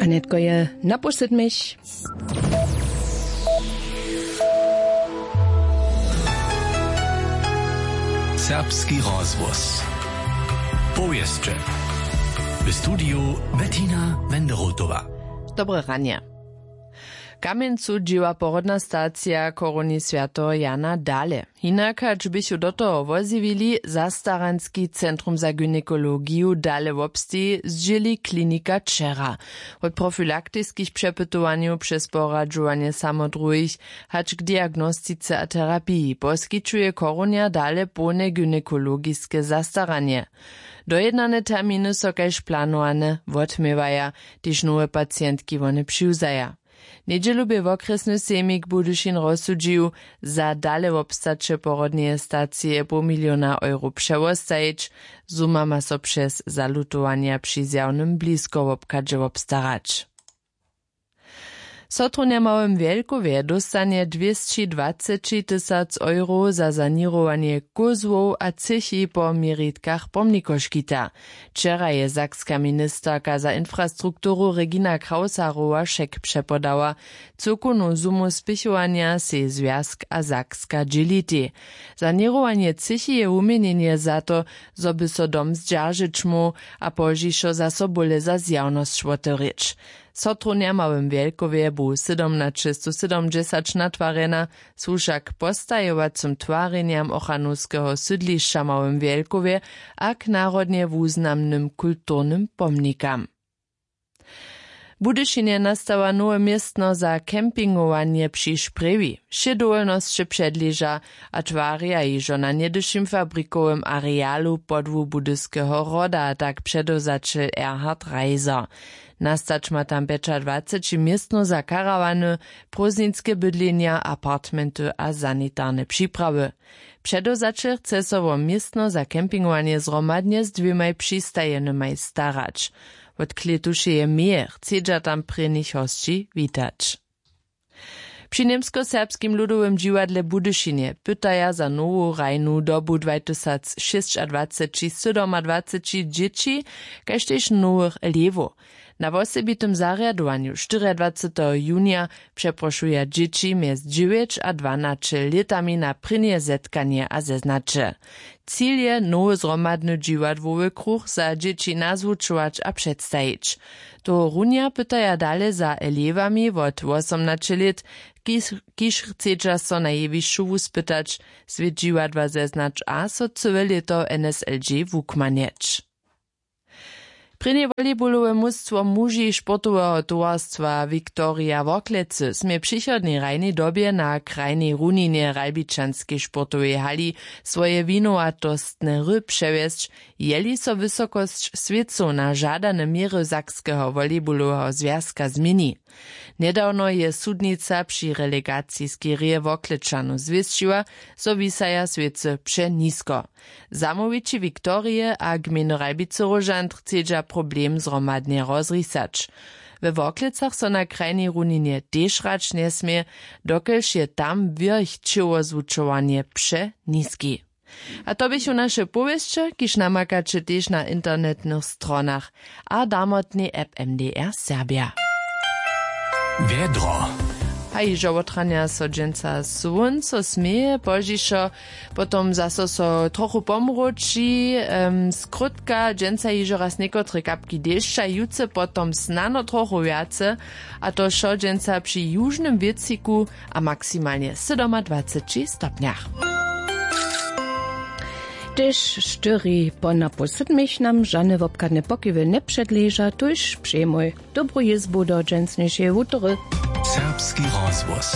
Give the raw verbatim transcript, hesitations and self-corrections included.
A nětko je na pół sydmich. Serbski rozhłos. Powěsće. W studiju Bettina Wenderotowa. Dobre ranje. W Kamjencu dźěła porodna stacija koroni swjateho Jana dale. Hinak hač běchu do toho wozjewili, zastaranski centrum za gynekologiju dale wobsteji, zdźěli klinika wčera. Wot profilaktiskich přepytowanjow přez poradźowanje samodruhich hač k diagnostice a terapiji poskićuje koronja dale połne gynekologiske zastaranje. Dojednane terminy so kaž planowane wotměwaja, tež nowe pacientki wone přiwzaja. Njedźelu bě wokrjesny sejmik Budyšin rozsudźił, za dale wobstaće porodneje stacije poł miliona euro přewostajić. Zuma ma so přez zalutowanja při zjawnym bliskowobchadźe wobstarać. Sotrownja w Małym Wjelkowje dóstanje dwěsći dwaceći tysac euro za saněrowanje kózłow a třěchi po měritkach pomnikoškita. Wčera je sakska ministerka za infrastrukturu Regina Krausarowa šek přepodała. Cyłkownu sumu spěchowanja sej zwjazk a sakska dźělitej. Saněrowanje třěchi je wuměnjenje za to, zo by so dom zdźeržeć móhł a pozdźišo zaso bóle za zjawnosć wotewrěć. Sotrownja w Małym Wjelkowje bu sydomnaćestosydomdźesać natwarjena, słuša k postajowacym twarjenjam ochranowskeho sydlišća w Małym Wjelkowje a k narodnje wuznamnym kulturnym pomnikam. W Budyšinje nastała nowe městno za campingowanje při Sprjewi. Wšě dowolnosće předleža a twarja hižo na něhdyšim fabrikowym arealu podłu Budyskeho hroda, tak předewzaćel Erhard Reiser. Nastać ma tam pjećadwaceći městno za karawany, prózdninske bydlenja, apartmenty a sanitarne připrawy. Předewzaćel chce so wo městno za campingowanje zhromadnje z dwěmaj přistajenymaj starać. Wot klětušeje meje chcedźa tam prěnich hosći witać. Při Němskoserbskim ludowym dźiwadle w Budyšinje pytaja za nowu hrajnu dobu dwatysacšěsćadwaceći sydomadwaceći dźěći, kaž tež nowych elewow. Na wosebitym zarjadowanju štyriadwaceteho junija přeprošuja dźěći mjez dźewjeć a dwanaće lětami na prěnje zetkanje a zeznaće. Cil je, nowy zhromadny dźiwadłowy kruch za dźěći nazwučować a předstajić. Tohorunja pytaja dale za elewami wot wosomnaće lět, kiž, kiž chcedźa so na jewišću wuspytać, swět dźiwadła zeznać a so cyłe lěto N S L G wukmanjeć. Prěnje volejbolowe mustwo muži sportoweho towarstwa Viktoria Worklecy smě w přichodnej hrajnej dobje na krajnej runinje w Ralbičanskej sportowej hali swoje winowatostne hry přewjesć, jeli so wysokosć swěcow na žadane měry Sakskeho volejboloweho zwjazka změni. Njedawno je sudnica při relegaciskej hrě Worklečanow zwěsćiła, zo wisaja swěcy přenisko. Zamołwići Viktorije a gmejny Ralbicy-Róžant chcedźa problem zhromadnje rozrisać. We Worklecach so na krajnej runinje tež hrać njesmě, dokelž je tam wěrch ćěłozwučowanje přeniski. A to běchu naše powěsće, kiž namakaće tež na internetnych stronach a damotnej app M D R Serbja. Wjedro. A hižo wotranja so dźensa słónco směje, pozdźišo potom zaso so trochu pomróči, em, skrótka dźensa hižo raz někotre kapki dešća, jutře potom snano trochu wjace, a to wšo dźensa při južnym wětřiku a maksimalnje sydomadwaceći stopnjach. Tež štyri po napoł sydmich nam žane wobchadne pokiwy njepředleža, tuž přemuj dobru jězbu do dźensnišeje wutory. Serbski rozhłos.